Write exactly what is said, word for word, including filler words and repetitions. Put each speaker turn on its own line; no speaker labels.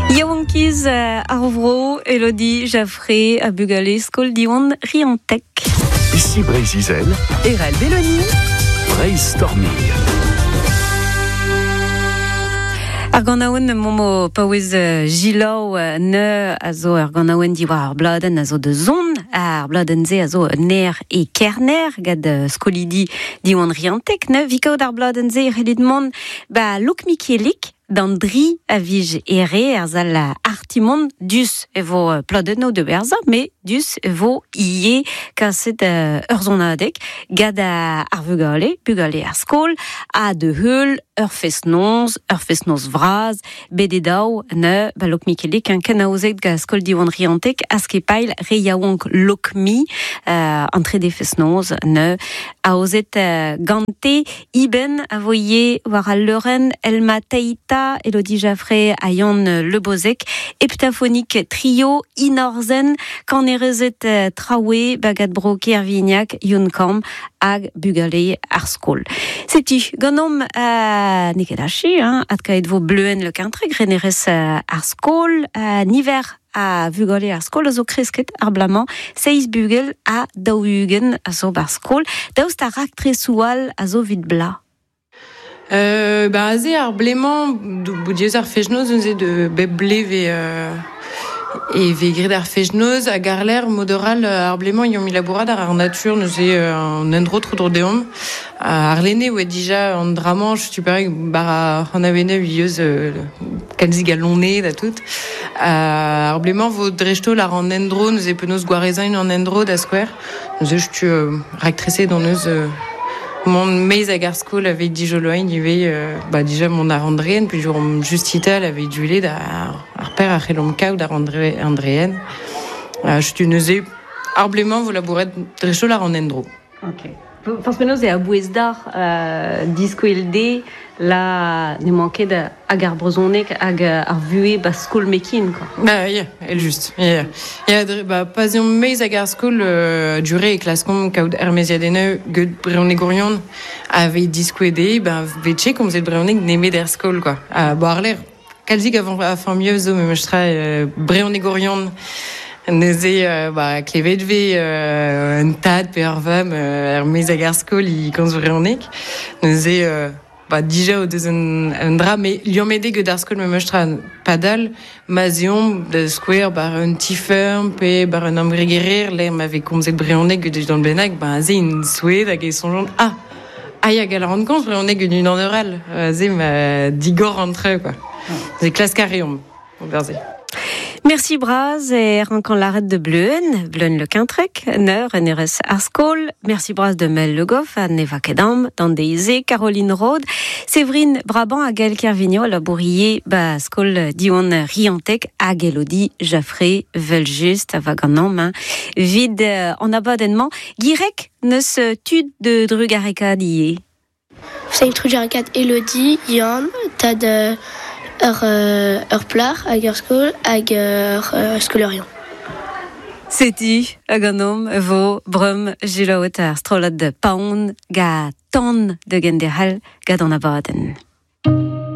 Yaouankiz ar vro, Elodie Jaffré a bugale skol Diwan Riantec.
Ici Breizh-Izel,
Erel Belloni,
Breizh Storming.
Ar ganaouenn momo paouez jilaou ne a zo ar ganaouenn diwar ar bladenn a zo de zon, ar bladenn ze a zo ner e kerner gad skolidi Diwan Riantec ne vikaout ar bladenn ze c'hellit mont ba Luk Mikielik d'an dri a vij ere ar zal artimon dus e vo pladenno de berza, me dus e vo ie kaset ur zonadek gad ar vugale, bugale ar skol, a de heul ur fest-noz, ur fest-noz vraz, bet e daou ne ba Lok Mikelik un kenaozet ga skol Diwan Riantec askepail re yaouank Lokmi euh, entre de fest-noz ne aozet euh, gante iben a voye war al leuren Elma Teita, Elodie Jaffré, Ayon Le Bozek, heptaphonique trio inorzen, kanerezet euh, traoue, bagad bro Kervignac, Yunkam, hag bugale ar skol. Setu, ganom euh, neket achi, hein, atkaet vo bleuen le kintreg, renerez euh, ar skol, euh, niver a vugale ar skol a zo kresket ar blamañ, seiz bugel a daou-ugent a zo bar skol, daoust ar raktres-oual a zo vid bla.
Euh, ba aze ar blemañ, boudiez ar fejnoz, neuze de bep ble ve, euh, e ve gret ar fejnoz hag ar l'air modoral ar blemañ iom ilabourad ar ar natur neuze euh, an endro tro dro deomp. Ar lene oa dija an dramanch, tu parek bar ar an avene vieus euh, kalzig a lonne da tout. Ar blemañ vo drechtol ar an endro neuze penaos gwarezain an endro da skouer. Neuze tu euh, raktrese dans neus euh, mon meiz hag ar skol avait dijoloain ivez euh, ba dija mon ar Andreen, puis jour justital avait duele da ar per ar c'hellomp kaout ar André, Andreen. Euh, je neuze ar blemañ vo labouret drechtol ar an endro.
Ok. Fors penaos e a bouez d'ar euh, disko el de la ne manket hag ar brezonek hag ar vue ba skol mekin, quoi.
Ba, ya, el just. Ya, ya, dre, ba, pas eom meiz hag ar skol euh, dure e klaskomp kaout er meziadene geut brezhonegorion ave diskouede, ba, vetche komzet brezhoneg nemet er skol, quoi. A, bo ar l'air, kalzik avant a famille zo, me meustra euh, brezhonegorion neuze euh, ba, klevet ve euh, un tad pe ur vamm euh, er meiz hag ar skol i komz brezhoneg. Neuze euh, ba, dija o deus un, un dra, me liammede geut ar skol me meustra padal, ma zeomp da skouer bar un tifeurm pe bar un ambregerer, l'air ma ve komzet brezhoneg geut d'an bennak, ba, ze in soued hag e sonjont, ah, ah ya gal an komz brezhoneg geut un an oral, ze ma digor entre, quoi. Ze klask a reomp, o berze.
Merci Braz et rankan l'arrêt de Bleuen, Bleuen le Quintrec, Neur, N R S Arskol. Merci Braz de Mel Le Goff, à Neva Kedam, Dandéizé, Caroline Rode, Séverine Brabant, à Gaël Kervigno, à la Bourrier, ba Skol Dion Riantec, à Elodie Jaffré, Veljuste, à Vaganom, hein. Vide en abonnement. Guirec, ne se tud de Drugareka dié.
Cinq Drugareka, Elodie, Yann, Tad, ur, euh, ur plar hag ur skol hag ur, euh, skolerion.
Seti hag an om vo brum jilaouet ar strollad de paon ga tan de genderhal gad an abadenn.